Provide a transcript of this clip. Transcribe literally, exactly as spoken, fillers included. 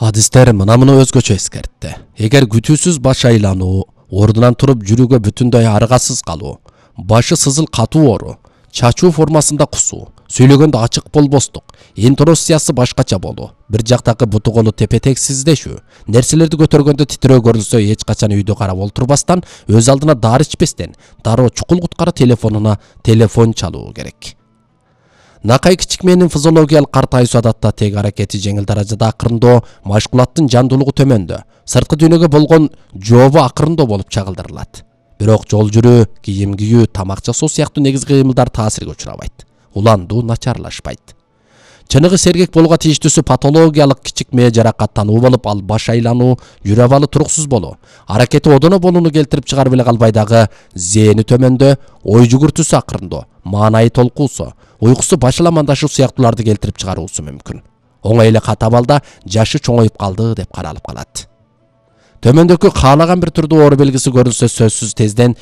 Адистер мына муну өзгөчө эскертти. Эгер күтүүсүз баш айлануу, ордунан туруп жүрүүгө бүтүндөй аргасыз калуу, башы сызыл катуу оору, чачуу формасында кусуу, сүйлөгөндө ачык болбостук, интонациясы башкача болуу, бир жактагы буту колу тепетексиздешүү, нерселерди көтөргөндө титирөө көрүлсө эч качан үйдү карап олтурбастан, өз алдына дары ичпестен, дароо чукул куткара телефонуна телефон чалуу керек. Накай кичикменин физиологиялык картайуусу адатта тег аракети жеңил даражада акырындоо, машкулаттын жандуулугу төмөндө, сырткы дүйнөгө болгон жообу акырындоо болуп чагылдырылат. Бирок жол жүрүү, кийим кийүү, тамак жасоо сыяктуу негизги кыймылдар таасирге учурабайт. Уландуу начарлашпайт. Чыныгы сергек болууга тийиштүүсү патологиялык кичикме жаракаттануу болуп, ал баш айлануу, жүрө абалы туруксуз болуу, аракети одоно болууну келтирип чыгарып эле калбай дагы зээни төмөндө, ой жүгүртүүсү акырындоо, маанайы толкуусу, уйкусу башаламандашуу сыяктууларды келтирип чыгаруусу мүмкүн. Оңой эле кат абалда жашы чоңоюп калды деп каралып калат. Төмөндөгү каалаган бир түрдүү оору белгиси көрүлсө сөзсүз тезден